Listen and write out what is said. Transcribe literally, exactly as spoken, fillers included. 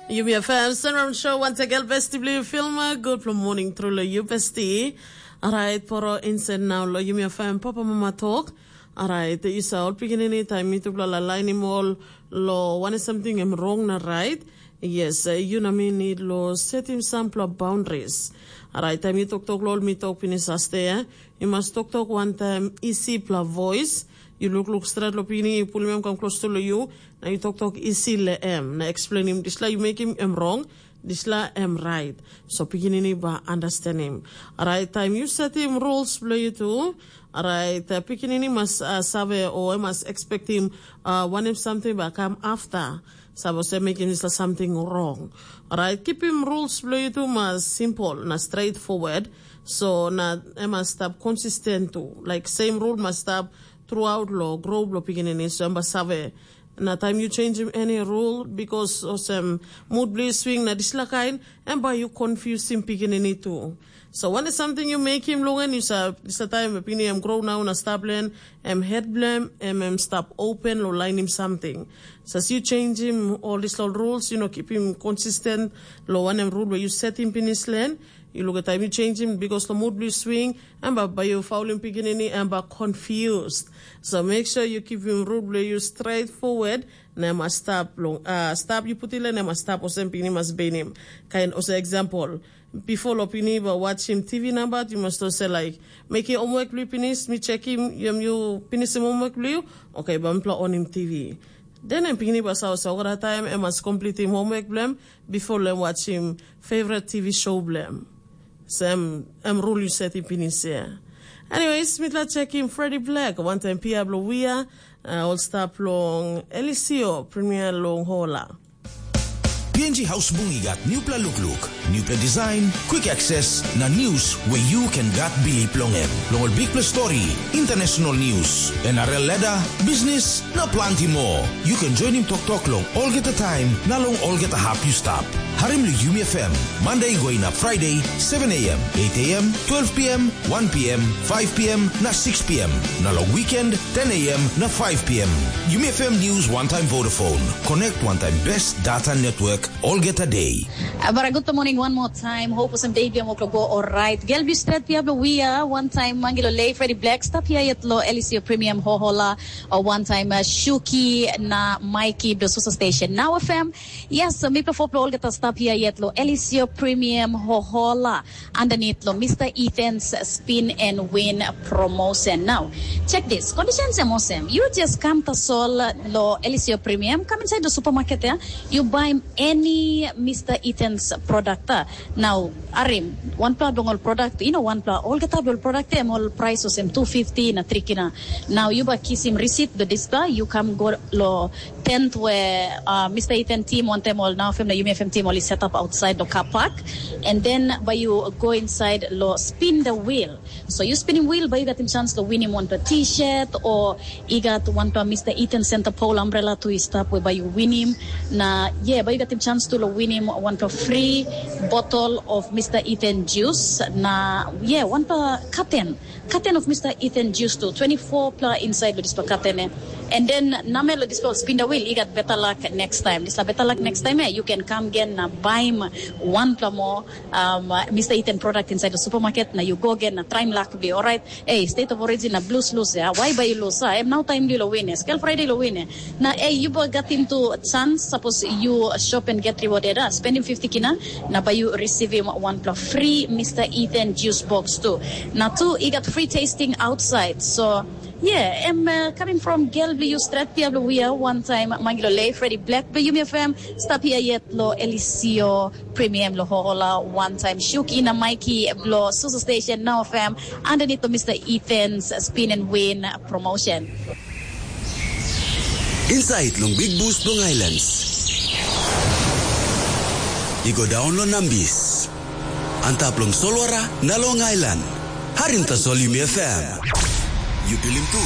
Yumi F M Sunround Show, once again, besti bli filma. Good for morning through lo you, besti. Alright, poro inside now lo Yumi F M Papa Mama Talk. Alright, you sa all pikinini time mi tupla la lainim all lo one something em wrong na right. Yes, eh, you na mi need lo setting sampla boundaries. Alright, time you talk talk lo all mi talk finish aste, eh? You must talk talk one time, easy pla voice. You look look straight lo pikinini, you pull him come close to lo you. Na yu toktok isi long em, na explainim dispela yu mekim em rong, dispela em rait. So pikinini bai understanding. Alright, taim yu setim rules bilong yu tu, alright, uh, pikinini mas uh, save o em mas expectim uh, wanem something bai kam after. Save olsem mekim dispela something wrong. Alright, keeping rules bilong yu tu mas simple na straightforward. So na em mas stap consistent tu. Like same rule mas stap throughout lo grow bilong pikinini, so em bai save. Na taim yu changim any rule, because olsem mood bilong yu swing na dispela kain, em bai yu confusim pikinini tu. So wanem something yu mekim long en, yu sa dispela taim pikinini em grow nau na stap len, em het bilem em em stap open lo lainim something. So as yu changim all dispela rules, yu no keeping consistent lo wanem rule where yu setim pinis len, yu look at time yu changim because lo mood bilong yu swing, em bai bai yu faulim pikinini, em bai confused. So make sure you keep him root bilong yu straight forward, na em stap long uh, stap yu put ile na em stap olsem pikinini mas benim. Kain olsem example, before lo pikinini bai watchim T V number, you must say like, make your homework blue pinis, mi checkim yum you pinis homework blue. Okay, bai mi pla onim T V. Then em pikinini bai sa olsem, okra time em mas completim homework blem before lem watchim favorite T V show blem. So em, em rule yu setim pinis ya. Anyways, mitla chekim Freddie Black, wantaim pia bilong wia, uh, ol stap long Elisio Premier long Hola. P N G Haus Bung i gat nupela lukluk, nupela design, quick access, na news where you can gat bilip long em. Long ol bikpela story, international news, N R L ladder, business, na planti moa. You can join him toktok long olgeta taim na long olgeta hap you stap. Harim long Yumi F M, Monday going up Friday, seven a m, eight a m, twelve p m, one p m, five p m, na six p m. Na long weekend, ten a m, na five p m. Yumi F M News one time Vodafone. Connect one time best data network olgeta day. Bara good morning one more time. Hope some day biam oklo go alright. Gel bi stret pia blo wia one time mangilo lei Freddy Black stap here yet lo Elisio Premium Hohola or one time uh, Shuki na Mikey blo Susa Station. Now F M. Yes, so mi perform olgeta stap here yet lo Elisio Premium Hohola underneath lo Mister Ethan's Spin and Win promotion. Now, check this. Conditions em osem. You just come to Sol lo Elisio Premium, come inside the supermarket there. You buy any Mister Ethan's product. Uh. Now, arim, one pla dong all product, you know, one pla all get up all product em all price osem two fifty na three kina. Now you buy kisim receipt the display, you come go lo tent where uh, Mister Ethan team want them all now from the U M F M team all is set up outside the car park. And then by you go inside lo spin the wheel. So you spinning wheel by you got him chance to win him one to t-shirt or you got one to Mister Ethan center pole umbrella to his top where by you win him. Na yeah, by you got him chance to lo win him one to free bottle of Mister Ethan juice. Na yeah, one to curtain. Curtain of Mister Ethan juice too. Twenty-four pla inside with this curtain. Eh. And then namel this spin the wheel, you got better luck next time. This better luck next time, eh? You can come again na buy him one pla more um, uh, Mister Ethan product inside the supermarket. Now you go again, na try him luck be all right. Hey, state of origin na blues lose ya. Why buy you lose? Ah, em now time di lo win. Scale Friday lo win. Na hey, you both got into chance. Suppose you shop and get rewarded. Ah, spending fifty kina. Na buy you receive him one plus free Mister Ethan juice box too. Na two, he got free tasting outside. So yeah, I'm uh, coming from Gel Blue Strat Pia Blue Wia one time Mangilo Lay Freddy Black Blue Yumi F M. Stop here yet lo Elisio Premium lo hola one time Shuki na Mikey blo Susu Station Now F M underneath to Mister Ethan's Spin and Win promotion. Inside long Big Boost long Islands. You go down long Nambis. Antap long Solwara na long Island. Harim tasol Yumi F M. You pilim tu.